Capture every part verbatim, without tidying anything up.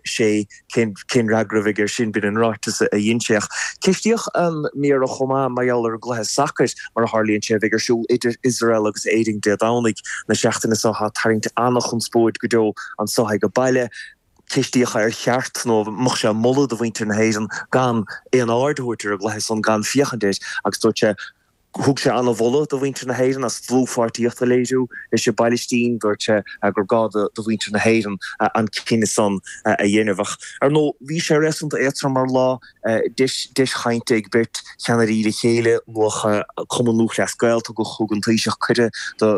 sé cén cén fhreagra a bheidh air sin b'in an ráiteas a dhein sé. Ach ceistíodh an Méara chomh maith mar gheall ar an gcluiche sacair mar a tharlaíonn sé a bheidh ar siúl idir Iosrael agus Éirinn Dé Domhnaigh na seachtaine seo atá ag tarraingt an-chonspóid go deo anseo ag an baile. Ceistíodh ar cheart nó an mbeadh sé ag moladh do mhuintir na hÉireann gan aon aird a thabhairt ar an gcluiche san, gan féachaint air agus dúirt sé Thug sé an-mholadh do mhuintir na hÉireann as dlúthpháirtíocht a léiriú leis an bPailistín. Dúirt sé gur gá do mhuintir na hÉireann an cinneadh san a dhéanamh. Ach, ar ndóigh, bhí sé réasúnta éadtrom mar lá, deis chainte ag beirt cheannairí le chéile. Luadh Cumann Lúthchleas Gael, tugadh thug an Taoiseach cuireadh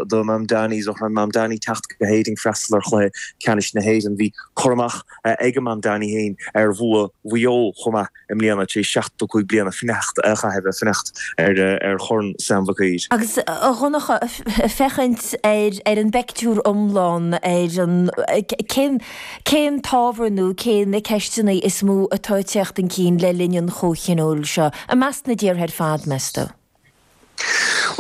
do Mamdani, Zohran Mamdani, teacht go hÉirinn freastal ar chluiche ceannais na hÉireann. Bhí cur amach ag Mamdani féin ar bhua Mhaigh Eo chomh maith. i mbliana, tar éis seachtó cúig bliana fanacht a chaitheamh ag fanacht ar Chorn Sam Mhic Uidhir. Agus a Dhonncha, féachaint ar ar an bpeictiúr iomlán, ar an cén cén t-ábhar nó cé na ceisteanna is mó atá ag teacht chun cinn le linn an chomhthionóil seo, i measc na dtíortha ar fad, meas tú?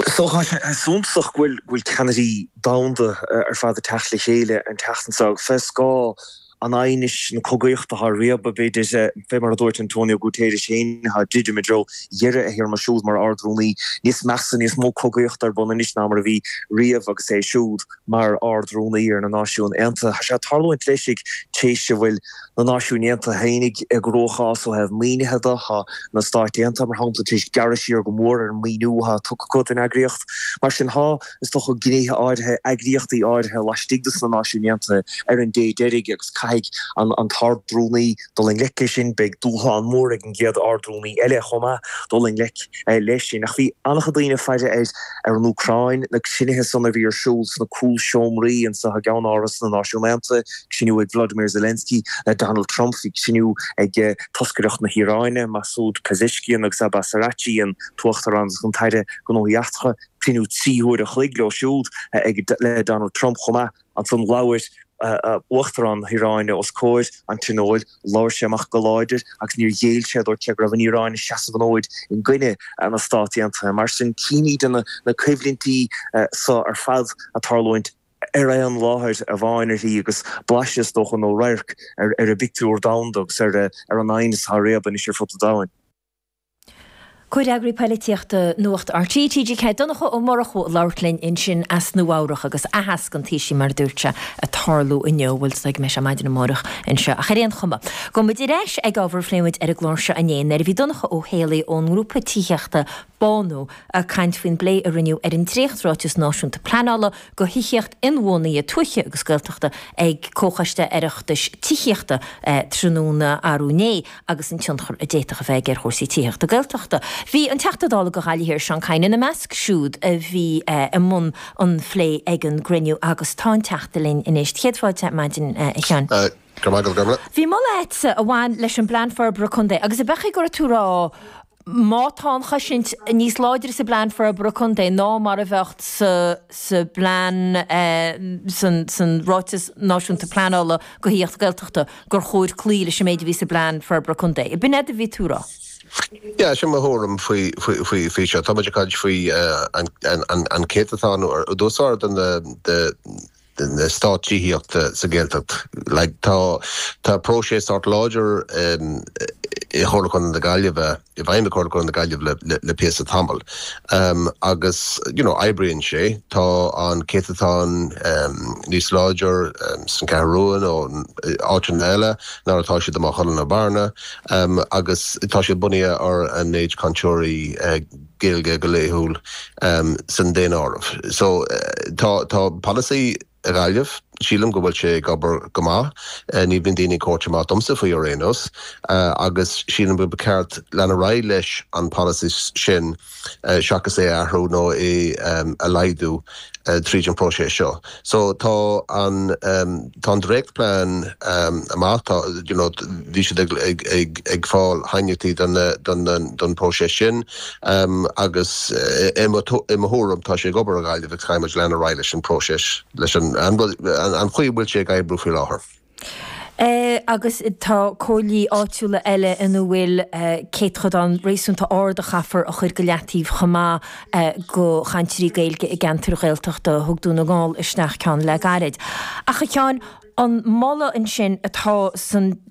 Is dócha tá sé suntasach go bhfuil ceannairí domhanda ar fad ag teacht le chéile an tseachtain seo agus fé scáth an aighnis, na cogaíochta atá ar réabadh, b'fhéidir, fé mar a dúirt Antonio Guterres féin, atá ag druidim i dtreo dheireadh a théarma siúd mar Ard-Rúnaí, níos measa, níos mó cogaíochta ar bun anois ná mar a bhí riamh agus é siúd mar Ard-Rúnaí ar na Náisiúin Aontaithe. Tá sé ag tarlúint leis ag tréis a bhfuil na Náisiúin Aontaithe féinig i gcruachás ó thaobh maoinithe de. Tá na Stáit Aontaithe, mar shampla, tar éis gearradh siar go mór ar an maoiniú atá tugtha acu don eagraíocht. Mar sin, tá, is dócha, gnéithe áirithe, eagraíochtaí áirithe laistigh de na Náisiúin Aontaithe ar an dé deiridh agus caithfidh an tArd-Rúnaí dul i ngleic leis sin. Beidh dúshlán mór ag an gcéad Ard-Rúnaí eile chomh maith dul i ngleic leis sin. Ach bhí an-chuid daoine ag faire ar ar an Úcráin, na cruinnithe san a bhí ar siúl sna cúlseomraí anseo i gCeannáras na Náisiún Aontaithe, cruinniú ag Vladimir Zelensky le Donald Trump, bhí cruinniú ag toscaireacht na hIaráine, Masoud Pezeshkian agus Abbas Araghchi, an tUachtarán agus an tAire Gnóthaí Eachtracha, cruinniú trí huaire a chloig leo siúd ag le Donald Trump chomh maith. Ansan labhair Uachtarán na hIaráine os comhair an Tionóil, labhair sé amach go láidir agus níor ghéill sé, dúirt sé go raibh an Iaráin ag seasamh an fhóid i gcoinne na Stát Aontaithe. Mar sin, címid na coimhlintí so ar fad ag tarlúint ar aon láthair amháin uirthi agus blaiseadh, is dócha, nó radharc ar an bpictiúr domhanda agus ar an aighneas atá ag réabadh anois ar fud an domhain. Comhfhreagraí Poilitíochta Nuacht RTÉ, TG Ceathair, Donncha Ó Murchú ag labhairt linn ansin as Nua Eabhrac agus aitheasc an Taoisigh mar a dúirt sé ag tarlú inniu, bhuel is dóigh go mbeidh sé maidin amárach anseo ach ar aon chuma. Gabhfaidh muid ar ais ag ábhar a phléigh muid ar an gclár seo inné nuair a bhí Donncha Ó Héalaí ón ngrúpa tithíochta Bánú ag caint faoin bplé a rinneadh ar an dréachtráiteas náisiúnta pleanála do thithíocht inbhuanaithe tuaithe agus Gaeltachta ag Comhchoiste Oireachtais Tithíochta tráthnóna arú inné agus an tionchar a d'fhéadfadh a bheith aige ar chúrsaí tithíochta Gaeltachta. Bhí an Teachta Dála do Ghaillimh Thiar, Seán Kyne, ina measc siúd a bhí i mbun an phlé ag an gcruinniú agus tá an Teachta linn anois. Céad fáilte ar maidin, a Sheáin. Go raibh maith agat, Gormlaith. Bhí moladh agatsa a bhain leis an bPlean Forbartha Contae agus ab ea go raibh tú ag rá má tá an chosaint níos láidre sa bPlean Forbartha Contae ná mar a bheadh sa sa bPlean san san Ráiteas Náisiúnta Pleanála do Thithíocht Gaeltachta gur chóir cloí leis an méid a bhí sa bPlean Forbartha Contae. B'in é a bhí tú a rá? Yeah, sin mo thuairim faoi faoi faoi seo. Tá muid ag caint faoi an an an céatadán uasal de na de na eastáit tithíochta sa Ghaeltacht. Like tá tá próiseas sórt láidir i Chomhairle Contae na Gaillimhe, i bhfeidhm i Chomhairle Contae na Gaillimhe le le le píosa tamall. Agus you know oibríonn sé. Tá an céatadán níos láidir san Cheathrú Rua nó áiteanna eile ná atá siad i Maigh Cuilinn nó Bearna agus tá siad bunaithe ar an méid cainteoirí Gaeilge go laethúil san daonáireamh. So tá tá polasaí i Gaillimh, sílim go bhfuil sé ag obair go maith, ní bhíonn daoine ag tabhairt amach domsa faoi ar aon nós, agus sílim go ba cheart lean ar aghaidh leis an polasaí sin seachas é a athrú nó é a laghdú tríd an próiseas seo. So tá an tá an dréachtplean amach, tá you know bhí siad ag ag ag ag fáil aighneachtaí don don don próiseas sin agus i mo i mo thuairim tá sé ag obair i Gaillimh agus caithfidh muid lean ar aghaidh leis an próiseas leis an an an chaoi a bhfuil sé ag oibriú faoi láthair. Agus tá comhairlí áitiúla eile ina bhfuil céatadán réasúnta ard a chaithfear a chur go leataobh chomh maith do chainteoirí Gaeilge i gceantair Ghaeltachta. Thug Dún na nGall isteach ceann le gairid. Ach a Sheáin, an moladh ansin atá san